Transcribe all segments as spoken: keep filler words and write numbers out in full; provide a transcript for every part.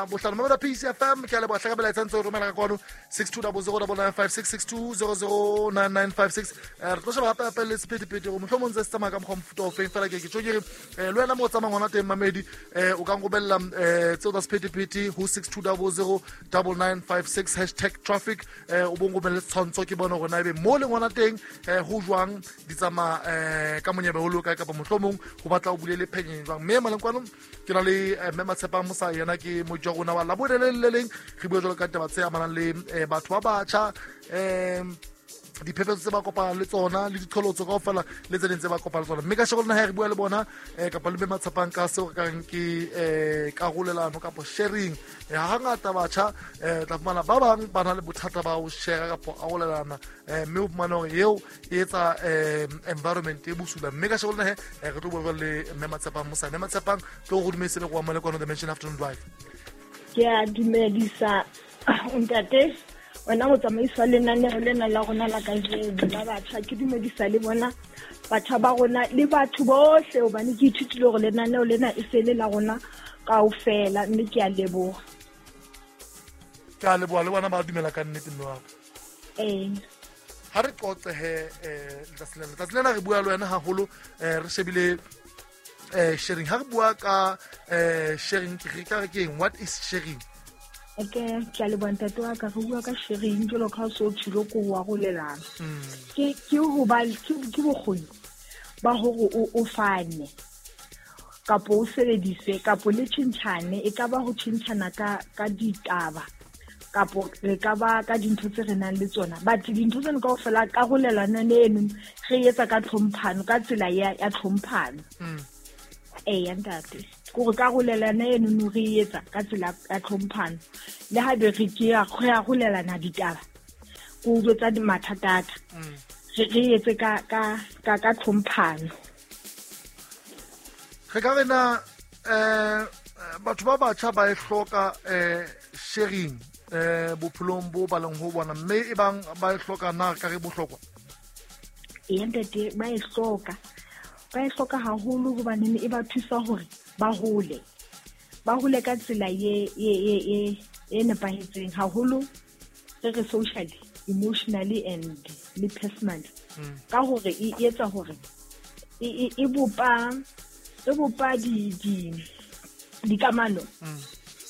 Bohlano mamela P C F M ke a leboha hlaka melaetsa ntse o romela ka kwano six two zero zero nine nine five six six two zero zero nine nine five six. Re tlo sheba hape hape le sephethephethe gore mohlomong ntse se tsamaya ka mokgwa mofuta o feng fela ke ke tjho ke re le wena mo o tsamayang hona teng mamedi o ka nromella tseo tsa sephethephethe ho six two zero zero nine nine five six hashtag traffic o bo nromelle setshwantsho ke bone hore na ebe mo leng hona teng ho jwang di tsamaya ka monyebe ho loka kapa mohlomong ho batla o bulele phenyeng jwang. Mme maleng kwano ke na le mme Matshepang Mosa yena ke mojwa rona wa Labone le le leng re bua jwalo ka taba tse amanang le batho ba batjha um diphephetso tse ba kopanang le tsona le diqholotso kaofela le tse ding tse ba kopanang le tsona. Mme ka sheko lena ha re bua le bona kapa le mme Matshepang ka seo re ka reng ke karolelano kapa sharing. Hangata batjha tla fumana ba bang ba na le bothata ba ho share kapa arolelana mme o fumana hore eo e etsa environment e bosula. Mme ka sheko lena he re tlo bua le mme Matshepang Mosa. Mme Matshepang tlo go dumedise le go amale kwano Dimension Afternoon Drive. Ke a dumedisa ntate wena motsamaisi wa lenaneo lena la rona la kajeno la batjha. Ke dumedisa le bona batjha ba rona le batho bohle hobane ke ithutile hore lenaneo lena e se le la rona kaofela, mme ke a leboha. Ke a leboha le bona ba dumela ka nnete mme wa ka. Ee. Ha re qoqe he letsatsi lena. Letsatsi lena re bua le wena haholo re shebile sharing. Ha re bua ka sharing ke re ka re ke eng? What is sharing? Okay, ke a leboha ntate wa ka. Re bua ka sharing jwalo ka ha so tshilo ko ho arolelana. Ke ke ho ba ke bokgoni ba hore o o fane kapo o sebedise kapo le tjhentjhane, e ka ba ho tjhentjhana ka ka ditaba kapo re ka ba ka dintho tse re nang le tsona. But dintho tseno kaofela karolelano eno re etsa ka tlhomphano, ka tsela ya ya tlhomphano. Ee ntate, kore karolelano eno no re etsa ka tsela ya tlhomphano. Le ha be re ke ya arolelana ditaba ko jwetsa mathata aka, re re etse ka ka ka ka tlhomphano. Re ka rena eh batho ba batjha ba e hloka eh sharing eh bophelong bo ba leng ho bona, mme e bang ba e hloka na ka re bohlokwa? Ee ntate, ba e hloka. Ba e hloka haholo hobane e ba thusa hore ba hole. Ba hole ka tsela ye ye ye e nepahetseng haholo re re socially, emotionally and le personally. Ka hore e etsa hore e e bopa e bopa di di dikamano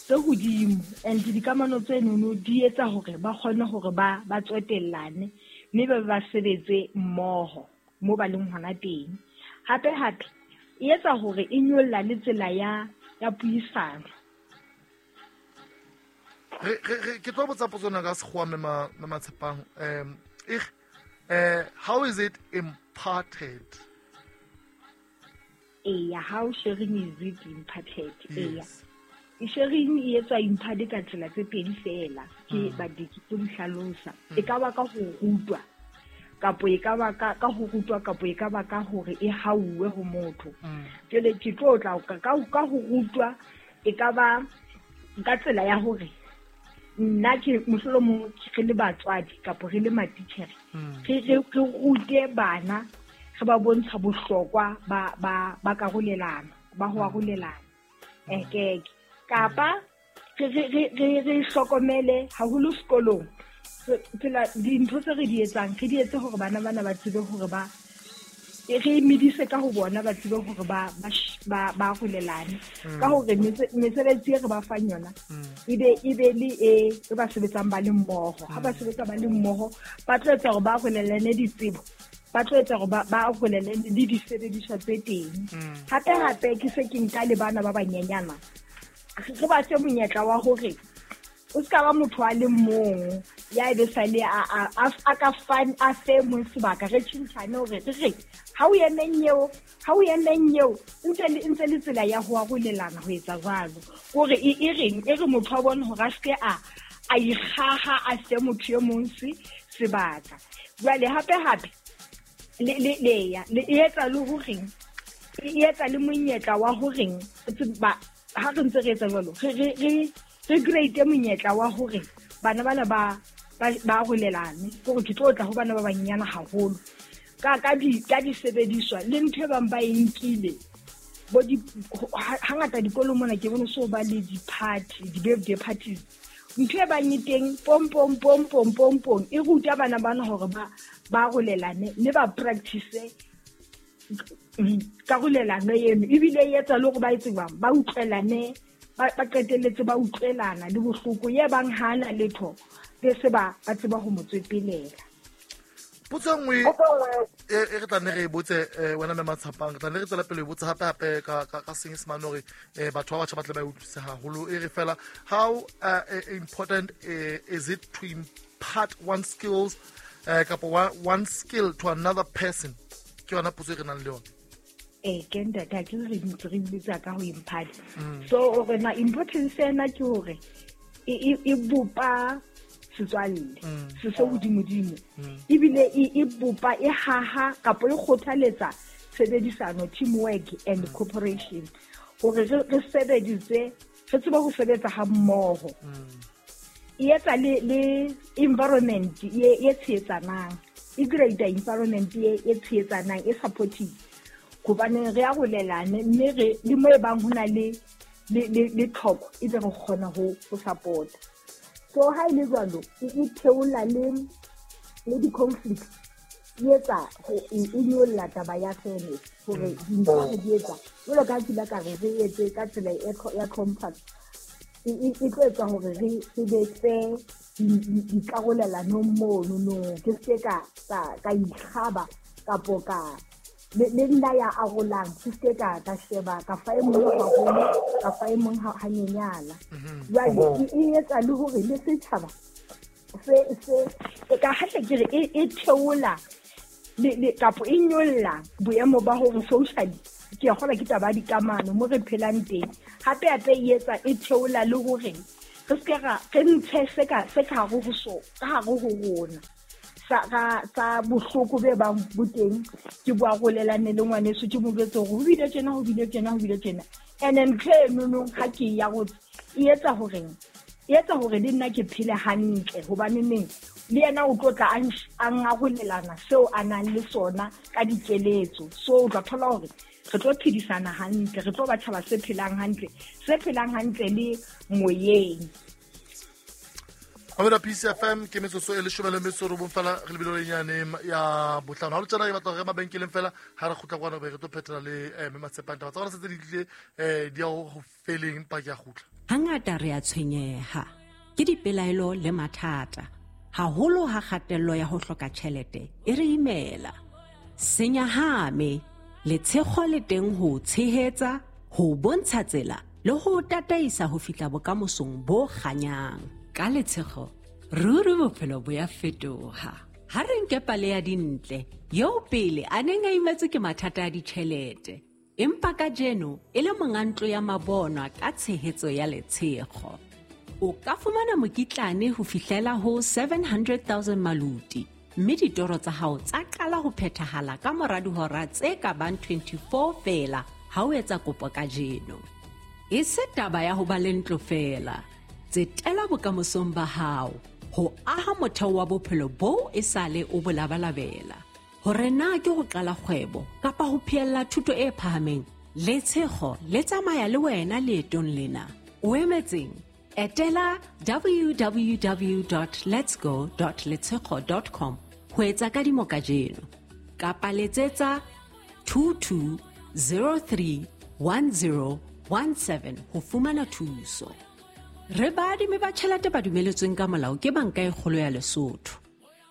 tse hodimo, and dikamano tse nono di etsa hore ba kgone hore ba ba tswetellane mme ba ba sebetse mmoho mo ba leng hona teng. Hape hape e etsa hore e nyolla le tsela ya ya puisano. Re re ke tlo botsa potso na ka sekgowa mme Matshepang. Um eh how is it imparted? Eya, how sharing is it imparted? Eya. Sharing e etswa imparted ka tsela tse pedi fela, ke ba di ke tlo hlalosa. E ka ba ka ho rutwa kapo e ka ba ka ka ho rutwa kapo e ka ba ka hore e hauwe ho motho. Jwale ke tlo tla ka ka ho rutwa e ka ba ka tsela ya hore nna ke mohlolomong re le batswadi kapo re le matitjhere re re re rute bana, re ba bontsha bohlokwa ba ba ba karolelana, ba ho arolelana. Eh ke kapa re re re re hlokomele haholo sekolong tsela dintho tse re di etsang, re di etse hore bana bana ba tsebe hore ba re medise ka ho bona, ba tsebe hore ba ba ba arolelane ka hore mesebetsi e re ba fang yona ebe ebe le e e ba sebetsang ba le mmoho. Ha ba sebetsa ba le mmoho ba tlo etsa hore ba arolelane ditsebo, ba tlo etsa hore ba arolelane le disebediswa tse teng. Hape hape ke se ke nka le bana ba banyenyana, re ba fe monyetla wa hore o ska ba motho a le mong ya ebe sale a a a ka fan a fe mong sebaka, re tjhentjhane hore re re ha o emeng eo, ha o emeng eo ntse le ntse le tsela ya ho arolelana ho etsa jwalo. Kore e e reng e re motho a bone hore a ske a a ikgaha a fe motho e mong se sebaka. Jwale hape hape le le le ya le etsa le horeng e etsa le monyetla wa horeng ba ha re ntse re etsa jwalo re re re re create monyetla wa hore bana bana ba ba arolelane. Kore ke tlo tla ho bana ba banyenyana haholo ka ka di ka disebediswa le ntho e bang ba e nkile Bo di hangata dikolo mona ke bone so ba le di-party, di-birthday parties. Ntho e bang e teng pom pom pom pom pom pom e ruta bana bana hore ba ba arolelane mme ba practice karolelano eno, ebile e etsa le hore ba etse jwang, ba utlwelane, ba ba qetelletse ba utlwelana le bohloko ye bang hana letho be se ba ba tseba ho mo tswepelela. Potso e nngwe e e re tla nne re e botse eh, wena mme Matshapang, re tla nne re tswela pele e botse hape hape ka ka ka Senyesemane hore eh, batho ba batjha ba tle ba e utlwisise haholo. E re fela, how uh, important uh, is it to impart one skills uh, kapa one, one skill to another person? Ke yona potso e re nang le yona. Eh, ke ntate, ha ke re ntse re botsa ka ho impart. So hore na importance ena ke hore e e e bopa setswalle se se hodimodimo, ebile e e bopa e haha kapa e kgothaletsa tshebedisano, teamwork and cooperation, hore re re sebedise, re tsebe ho sebetsa ha mmoho. E etsa le le environment e e tshehetsanang, e create environment e e tshehetsanang, e supportive, hobane re arolelane mme re le mo e bang ho na le le le le tlhoko, ebe re kgona ho ho support. So ha e le jwalo, e e theola le le di-conflict, e etsa ho e e nyolla taba ya fairness, hore dintho re di etsa jwalo ka ha ke ile ka re re etse ka tsela e tlho- ya compact, e e e tlo etsa hore re re be fair di- di- dikarolelanong mono no, ke se ka ka ka ikgaba kapo ka le le nna ya arolang, ke se ka ka sheba ka fa e mong haholo, ka fa e mong ha hanyenyana. Jwale e e etsa le hore le setjhaba se se e ka hahle ke re e e theola le le kapo e nyolla boemo ba hore socially, ke a kgolwa ke taba ya dikamano mo re phelang teng. Hape hape e etsa e theola le hore re se ra re ntshe se ka se ka hare ho so ka hare ho rona sa ga sa bohloko be bang bo teng, ke bo arolelane le ngwaneso, ke mo jwetse hore ho bile tjena, ho bile tjena, ho bile tjena. And then ntho eno ha ke ya go e etsa horeng, e etsa hore le nna ke phele hantle, hobane neng le yena o tlo tla a nsh- a ngarolelana seo a nang le sona ka dikeletso. So o tla thola hore re tlo phedisana hantle, re tlo ba tjhaba se phelang hantle, se phelang hantle le moyeng. Mamela P C F M ke metsotso e leshome le metso e robong fela re lebile lenyane ya bohlano. Ha le tjena ke batla hore re mabenkeleng fela, ha re kgutla kwana be re tlo phethela le eh, mme Matshepang. Taba tsa rona se tse di tlile eh, di ya ho ho feleng, empa ke a kgutla. Hangata re a tshwenyeha ke dipelaelo le mathata, haholo ha kgatello ya ho hloka tjhelete e re imela. Senyahame, letshego le teng ho tshehetsa, ho bontsha tsela le ho tataisa ho fihla bokamosong bo kganyang. Ka letshego, ruri bophelo bo ya fetoha. Ha re nke pale ya Dintle, eo pele a neng a imetswe ke mathata a ditjhelete, empa kajeno e le monga ntlo ya mabonwa ka tshehetso ya letshego. O ka fumana mokitlane ho fihlela ho seven hundred thousand maluti, mme ditoro tsa hao tsa qala ho phethahala ka mora dihora tse ka bang twenty-four feela ha o etsa kopo kajeno. E se taba ya ho ba le ntlo feela, tsetela bokamosong ba hao ho aha motheo wa bophelo boo e sale o bo labalabela. Hore na ke ho qala kgwebo kapa ho phehella thuto e phahameng, letshego le tsamaya le wena leetong lena. O emetseng? Etela w w w dot letsgo dot letshego dot com ho etsa kadimo kajeno, kapa letsetsa two two zero three one zero one seven ho fumana thuso. Re baadimi ba tjhelete ba dumeletsweng ka molao ke Banka e Kgolo ya Lesotho.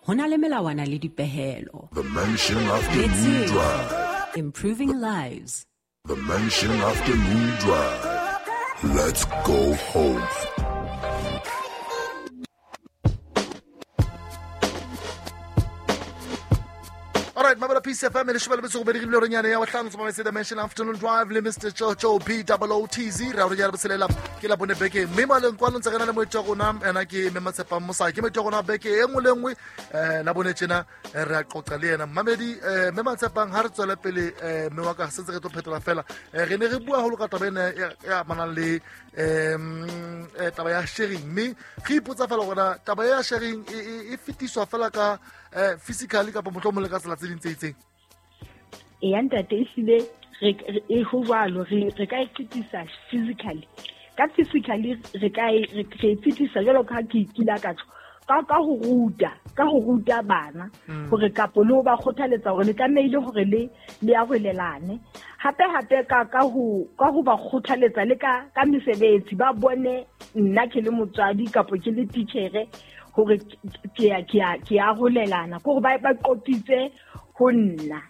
Ho na le melawana le dipehelo. The Mansion Afternoon Letshego, Drive. improving lives. The Mansion Afternoon Drive. Let's go home. All right, Mabela P C F M, leshome le metso e robedi re bile hore ya bohlano tsamaisa The Mansion Afternoon Drive le Mister Jojo B O O T Z. Re a re ya botshelela ke la bone beke mme maleng kwano ntse re na le moeti wa rona, ena ke Mme Matshepang Mosai, ke moeti wa rona beke e nngwe le nngwe, eh, la bone tjena, eh, re a qoqa le yena. Mmamedi, eh, Mme Matshepang, ha re tswele pele, eh, mme wa ka se ntse re tlo phetola fela, eh, re ne re bua haholo ka taba ena e, e amanang le, em, eh, taba ya sharing, mme re ipotsa fela hore na taba ya sharing e, e, e fetiswa fela ka, eh, physically kapa mohlomong le ka tsela tse ding tse itseng. Eya ntate, ehlile re e ho jwalo re re ka e fetisa physically ka physically re ka e re e fetisa jwalo ka ke kila ka tjho ka ka ho ruta ka ho ruta bana hore kapo le ba kgothaletsa hore le tlamehile hore le le arolelane hape hape ka ka ho ka ho ba kgothaletsa le ka ka mesebetsi ba bone nna ke le motswadi kapo ke le teachere hore ke ya ke ya ke arolelana gore ba ba qopitse ho nna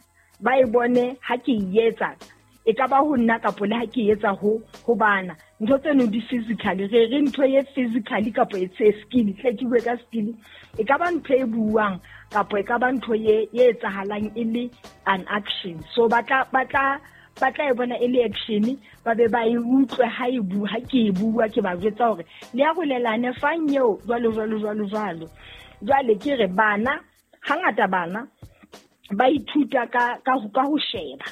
ba e bone ha ke etsa e ka ba ho nna kapo le ha ke etsa ho ho bana ntho tseno di physically re re ntho e physically kapo e tse skill tle ke bue ka skill e ka ba ntho e buang kapo e ka ba ntho e e etsahalang e le an action so batla batla batla e bona e le action ba be ba e utlwe ha e bua ha ke e bua ke ba jwetsa hore le arolelane fang eo jwalo jwalo jwalo jwalo jwale ke re bana hangata bana ba ithuta ka ka ka ho sheba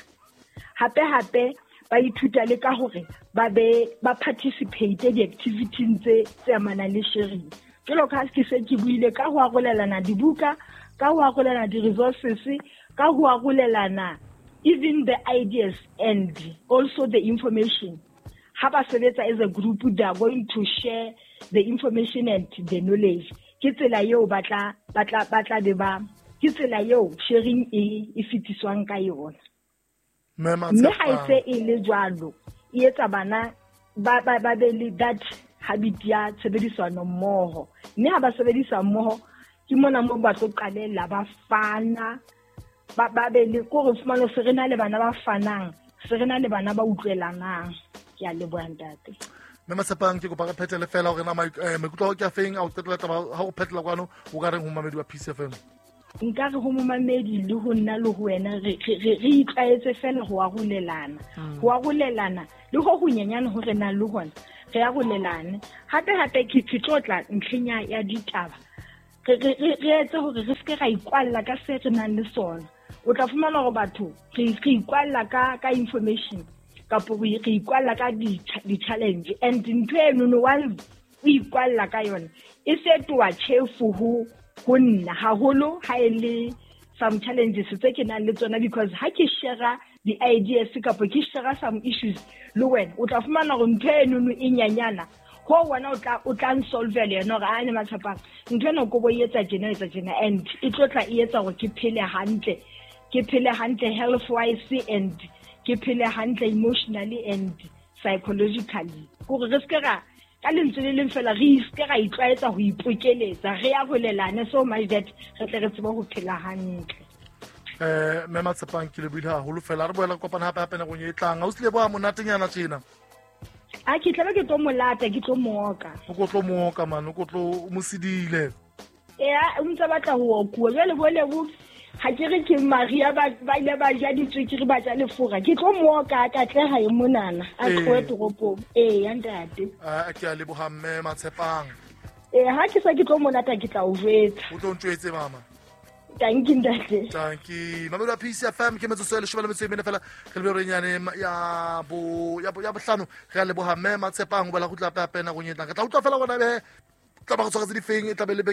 hape hape ba ithuta le ka hore ba be ba participate di-activities tse tse amanang le sharing jwalo ka ha ke se ke buile ka ho arolelana dibuka ka ho arolelana di-resources ka ho arolelana even the ideas and also the information ha ba sebetsa as a group they are going to share the information and the knowledge ke tsela eo ba tla ba tla ba tla be ba ke tsela eo sharing e e fetiswang ka yona mme ha e se e le jwalo e etsa bana ba ba ba be le that habit ya tshebedisano mmoho mme ha ba sebedisa mmoho ke mona mo ba tlo qalella ba fana ba ba be le gore fumano se re na le bana ba fanang se re na le bana ba utlwelanang ke a leboha ntate Mme Matshepang ke kopa re phethele fela hore na maikutlo a ke a feng a o qetela taba ha o phethela kwano o ka reng ho mamedi wa Peace F M nka re ho momamedi le ho nna le ho wena re re re itlwaetse fela ho arolelana ho arolelana le ho ho nyenyane hore na le hona re arolelane hape hape ke tlotla ntlheng ya ditaba re re re etse hore re se ra ikwalla ka se re nang le sona o tla fumana hore batho re re ikwalla ka ka information kapo re ikwalla ka di challenge and ntho eno no wa o ikwalla ka yona e fetoha tjhefu ho ho nna haholo ha e le some challenges tse ke nang le tsona because ha ke share the ideas kapo ke share some issues le wena o tla fumana hore ntho eno e nyanyana ho wena o tla o tla nsolve le yena hore a ne Matshepang ntho eno ko bo etsa tjena etsa tjena and e tlotla e etsa hore ke phele hantle ke phele hantle health wise and ke phele hantle emotionally and psychologically gore re se ra ka lentswe le leng fela re se ra itlwaetsa ho ipokeletsa re arolelane so much that re tle re tsebe ho phela hantle eh Mme Matshepang ke lebohile haholo fela re boela kopana hape hape nakong e tlang ha o se leboha monatenyana tjena a ke tlabe ke tlo molata ke tlo mooka o ko tlo mooka man o ko tlo mo sedile ea o ntse batla ho okuwa jwale bo lebo ha ke re ke Maria ba ba ile ba ja ditswekere ba ja lefura ke tlo mooka ka tleha e monana a tlohe toropong ee ya ntate a ke a leboha Mme Matshepang ee ha ke sa ke tlo monata ke tla o jwetsa o tlo ntjwetse mama Thank you ntate thank you Mamedi wa Peace F M ke metsotso e leshome le metso e mene fela re le renyane ya bo ya ya bohlano re a leboha Mme Matshepang ho bala go tla hape hape nakong e tlang re tla utlwa fela gona be tla ba go tshwaretse difeng e tla be le